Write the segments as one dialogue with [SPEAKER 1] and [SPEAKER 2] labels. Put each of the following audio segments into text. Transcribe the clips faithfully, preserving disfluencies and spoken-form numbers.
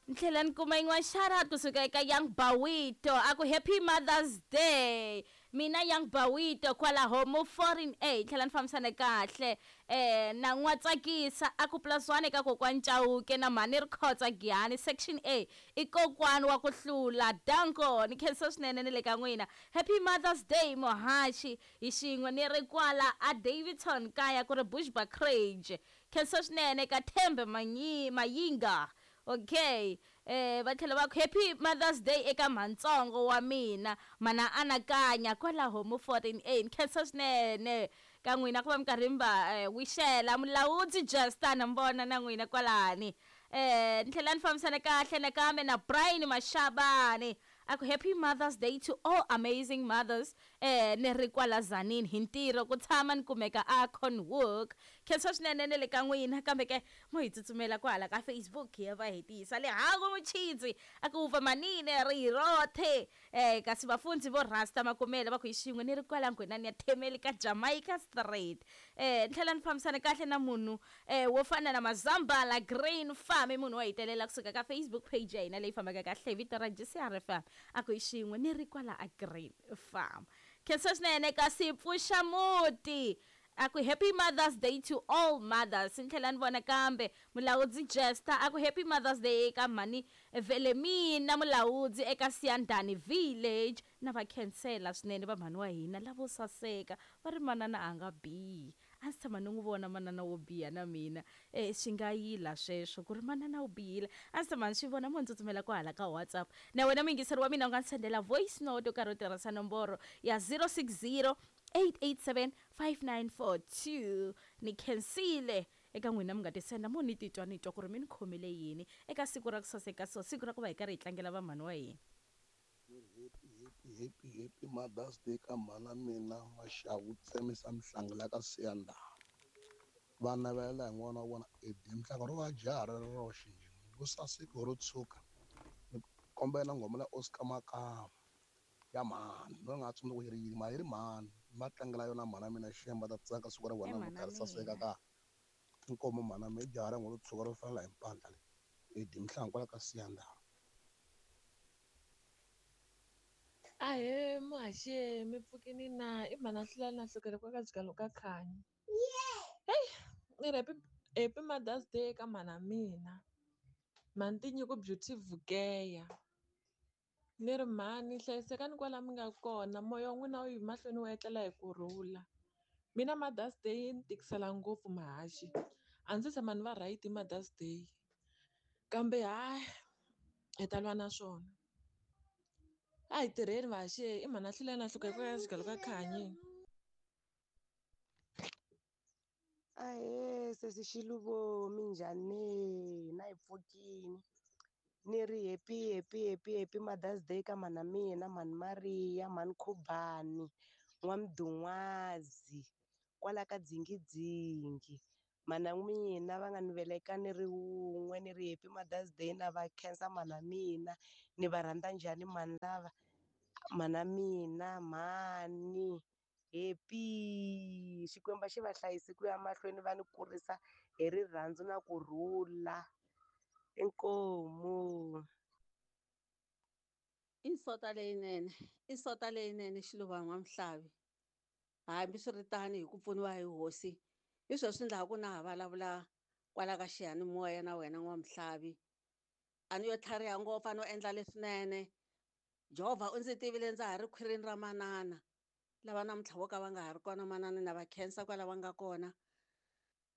[SPEAKER 1] Ni tlhela ni kuma yin'wana shout kusuka eka Young Bawito, a ku happy Mother's Day, mina Young Bawito kwalaho mo foreign a. Tlhela ni fambisana kahle eh na n'wa tsakisa, a ku plus one eka kokwani Chauke na mhani Rikhotsa Giyani section A i kokwani wa ku hlula. Danko, ni khensa swinene ni le ka n'wina. Happy Mother's Day muhaxi, hi xin'we ni ri kwala a Davidson kaya ku ri Bushbuckridge. Khensa swinene ka Thembe Manyi Mayinga. Okay, eh va tlhela va ku happy Mother's Day eka mhantsongo wa mina mana anakanya kwalaho mo fourteen A. Ni khensa swinene ka n'wina ku va mi karhi mi va wixela mulawudzi Justin mbona na n'wina kwalani. Eh ni tlhela ni fambisana kahle nakambe na Brian Mashabane, a ku happy Mother's Day to all amazing mothers. Eh ni ri kwala Zanini hi ntirho ku tshama ni kumeka a Cornwook. Khensa swinene ne le ka n'wina, kambe ke mo hi tsutsumela kwala ka Facebook ya va hetisa le hangu muchidzi, a ku va manine ri rothe. Eh kasi vafundzi vo Rasta Makumela va ku hi xin'we ni ri kwala nghwenani ya Themeli ka Jamaica Street. Eh ni tlhela ni fambisana kahle na munhu eh wo fana na Mazambala Green Farm, munhu wa hitelela kusuka ka Facebook page ya hina leyi fambaka kahle vito ra G C R F M, a ku hi xin'we ni ri kwala a Green Farm. Khensa swinene kasi pfuxa muti, a ku happy Mother's Day to all mothers. Ni tlhela ni vona kambe mulawudzi Jester, a ku happy Mother's Day eka mhani Velemina mulawudzi eka Siyandhani Village. Na va khensela swinene va mhani wa hina lavo saseka, va ri manana a nga bihi. A ndzi tshama ni n'wi vona manana wo biha na mina, eh swi nga yila sweswo ku ri manana wo bihile. A ndzi tshama ni swi vona, mo ndzi tsutsumela kwahala ka WhatsApp. Na wena muyingiseri wa mina u nga ndzi sendela voice note u karhi u tirhisa nomboro ya zero six zero eight eight seven five nine four two. Ni khensile eka n'wina mi nga ti senda, mo ni titwa ni twa ku ri mi ni khomele yini eka siku ra ku saseka, so siku ra ku va hi karhi hi tlangela vamhani wa hina.
[SPEAKER 2] Happy, happy, happy, happy Mother's Day ka mhana mina Maxavu Tsemisa Mhlangela ka Siyandhani. Va navelela hi n'wana wa vona Eddie Mhlanga ro va jaha ri ri roxe njhe, ro saseka ro tshuka. Ni kombela nghoma la Oscar Makamu ya mhani, no nga tsundzuki yi ri yini, mara yi ri mhani. Va tlangela yona mhana mina Shemba ta tsaka siku ra vona
[SPEAKER 1] mhana
[SPEAKER 2] ri saseka
[SPEAKER 1] mina.
[SPEAKER 2] ka inkomo mhana mina jaha ra n'wana ro tshuka ro fanela hi mpandla leyi. Eddie Mhlanga kwala ka Siyandhani.
[SPEAKER 3] Ahee muhaxi, mi pfukini na? I mhana Hlulani na hlukela kwa ka jikalo ka Khanyi. Hey, ni ri happy, happy Mother's Day ka mhana mina. Mhani Tinyiko Beauty Vukeya. Ni ri mhani hlayisekani kwala mi nga kona, moya wa n'wina wu yi mahlweni wu etlela hi kurhula. Mina Mother's Day yi ni tikisela ngopfu muhaxi. A ndzi tshama ni va right hi Mother's Day. Kambe hayi, hi ta lwa na swona. A hi tirheni vahaxi, i mhana Hlulani na hluka ka xigalo ka Khanyi.
[SPEAKER 4] Ahee sesi Xiluvo, minjhani? Na hi pfukini. Ni ri happy, happy, happy, happy Mother's Day ka mhana mina, mhani Maria, mhani Khubani, N'wamdun'wazi, kwala ka Dzingidzingi. Mhana mina va nga ni veleka ni ri wun'we, ni ri happy Mother's Day na va khensa mhana mina. Ni va rhandza njhani mhani lava? Mhana mina, mhani, happy. Xikwembu xi va hlayise ku ya mahlweni va ni kurisa hi rirhandzu na kurhula. Inkomu.
[SPEAKER 5] I nsota leyinene, i nsota leyinene Xiluva N'wamhlavi. Hambiswiritano hi ku pfuniwa hi hosi, hi sweswi ndla ku na ha vulavula kwala ka xiyanimoya na wena N'wamhlavi. A ni yo tlhariha ngopfu, a no endla leswinene. Jehovha u ndzi tivile ndza ha ri khwirini ra manana. Lava namuntlha vo ka va nga ha ri kona manana na va khensa kwala va nga kona.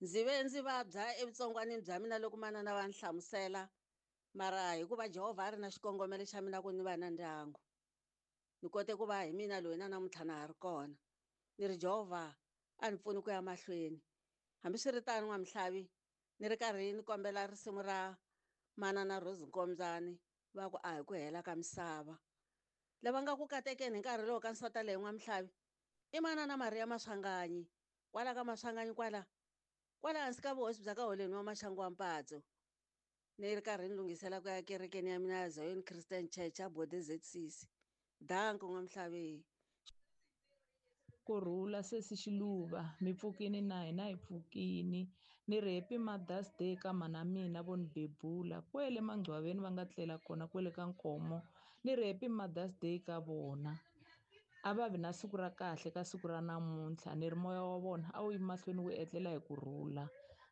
[SPEAKER 5] Ndzi ve ndzi vabya evutsongwanini bya mina loko manana va ni hlamusela, mara hikuva Jehovha a ri na xikongomelo xa mina ku ni va na ndyangu, ni kote ku va hi mina loyi na namuntlha na ha ri kona. Ni ri Jehovha a ni pfuni ku ya mahlweni. Hambiswiritano N'wamhlavi, ni ri karhi ni kombela risimu ra manana Rose Nkombyani va ku a hi ku hela ka misava. Lava nga ku katekeni hi nkarhi lowu ka nsota leyi N'wamhlavi i manana Maria Maswanganyi, kwala ka Maswanganyi kwala, kwala hansi ka vuhosi bya ka Holeni wa Maxangu wa Mpatso. Ni ri karhi ni lunghisela ku ya kerekeni ya mina ya Zion Christian Church ya Bode Z C C. Danko N'wamhlavi.
[SPEAKER 6] Kurhula sesi Xiluva, mi pfukini na hina hi pfukini. Ni ri happy Mother's Day ka mhana mina vo ni bebula kwele mangcwaveni va nga tlela kona kwele ka Nkomo. Ni ri happy Mother's Day ka vona. A va vi na siku ra kahle ka siku ra namuntlha. Ni ri moya wa vona a wu yi mahlweni wu etlela hi kurhula.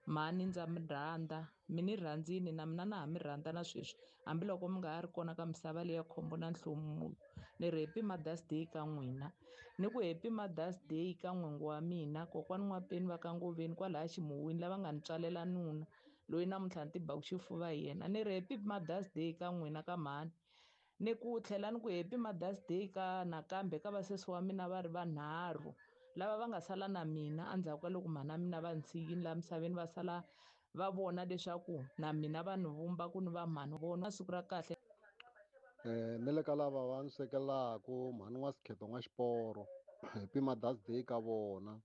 [SPEAKER 6] Mhani ndza mi rhandza, mi ni rhandzini na mina na ha mi rhandza na sweswi hambiloko mi nga ha ri kona ka misava leya khombo na nhlomulo. Ni ri happy Mother's Day ka n'wina. Ni ku happy Mother's Day ka n'wingi wa mina kokwani N'wapeni va ka Ngoveni kwalaya Ximuwini lava nga ni tswalela nuna loyi namuntlha ni tibaku xifuva hi yena. Ni ri happy Mother's Day ka n'wina ka mhani. Ni ku tlhela ni ku happy Mother's Day ka nakambe ka vasesi wa mina va ri vanharhu lava va nga sala na mina endzhaku ka loko mhana mina va ni tshikile laha misaveni, va sala va vona leswaku na mina va ni vumba ku ni va mhani vona siku ra kahle.
[SPEAKER 7] Eh ni le ka lava va ni swekelaku mhani wa Sikheto n'wa Xiporo, happy Mother's Day ka vona.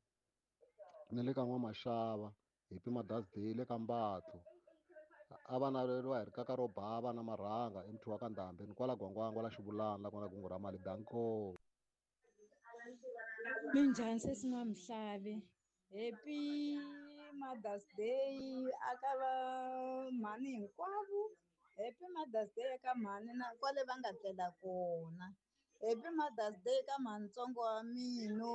[SPEAKER 7] Ni le ka N'wa Maxava, happy Mother's Day le ka Mbatlo. A va naveriwa hi rikaka ro bava na marhanga emuthu wa ka Ndhambi ni kwala Gwangwangwa la Xivulana la kona kungu ra mali danko.
[SPEAKER 8] Minjhani sesi N'wamuhlavi? Happy Mother's Day aka va mhani hinkwavo. Happy Mother's Day eka mhani na kwale va nga tlela kona. Happy Mother's Day ka mhanitsongo wa mina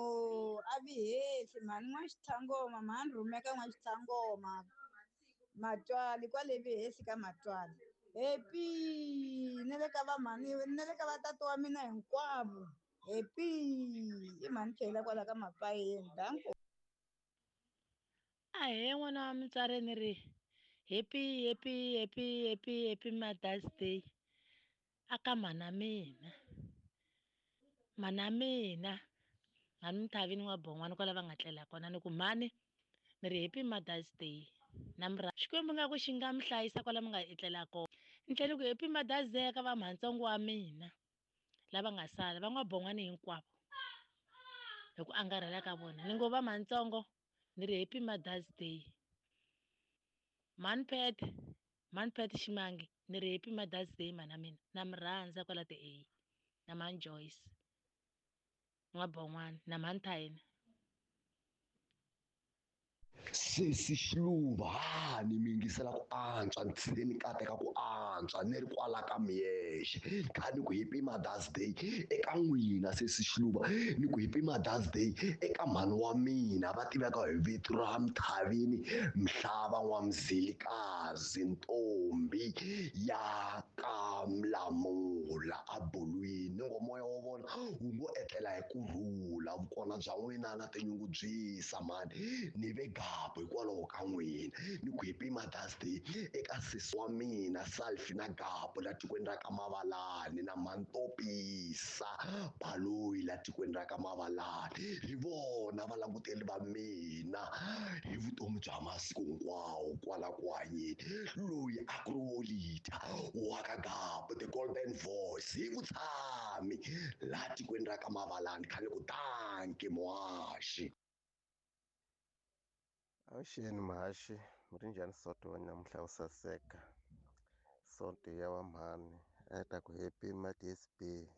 [SPEAKER 8] a vi hehli mhani N'wa-Xitlhangoma, mhani Rhumeka N'wa-Xitlhangoma Matwali kwale vi hehli ka Matwali. Happy na le ka va mhani na le ka va tata wa mina hinkwavo. Happy i mhani Chela kwala ka Mapayeni danko.
[SPEAKER 9] Ahee n'wana wa mutswari ni ri happy happy happy happy happy Mother's Day aka mhana mina. Mhana mina mhani Muthavini wa Bon'wana kwala va nga tlela kona ni ku mhani ni ri happy Mother's Day na mi Xikwembu nga ku xi nga mi hlayisa kwala mi nga etlela kona. Ni tlhela ni ku happy Mother's Day ka va mhanitsongo wa mina lava nga sala va N'wa-Bon'wana hinkwavo hi ku angarhela ka vona. Ni ngo va mhanitsongo ni ri happy Mother's Day. Mhani Pat, mhani Pat Ximangi ni ri happy Mother's Day mhana mina na mi rhandza kwala ti A na mhani Joyce N'wa-Bon'wana na mhani Thayina.
[SPEAKER 10] Sesi Xiluva ha ni mi yingisela ku antswa ni tlhele ni kateka ku antswa ni ri kwala ka Miyexe kha ni ku happy Mother's Day eka n'wina sesi Xiluva ni ku happy Mother's Day eka mhani wa mina va tiveka hi vito ra Mthavini Mhlava N'wa-Mzilikazi ntombi ya ka Mlamula a Bulwini. Ni ngo moya wa vona wu ngo etlela hi kurhula vukona bya n'wina na tinyungubyisa mhani ni ve gapu hikwalaho ka n'wina. Ni ku happy Mother's Day eka sesi wa mina Salfi na Gapu la tikweni ra ka Mavalani na Mantopisa Baloyi la tikweni ra ka Mavalani hi vona valanguteli va mina hi vutomi bya masiku hinkwawo kwala ku hanyeni. Loyi a ku ri Wolita wa ka Gapu the golden voice hi vutshami la tikweni ra ka Mavalani khale ku danki muhaxi.
[SPEAKER 11] Avuxeni muhaxi mi ri njhani Sonto wa namuntlha wo saseka Sonto ya va mhani a hi ta ku happy Mother's Day.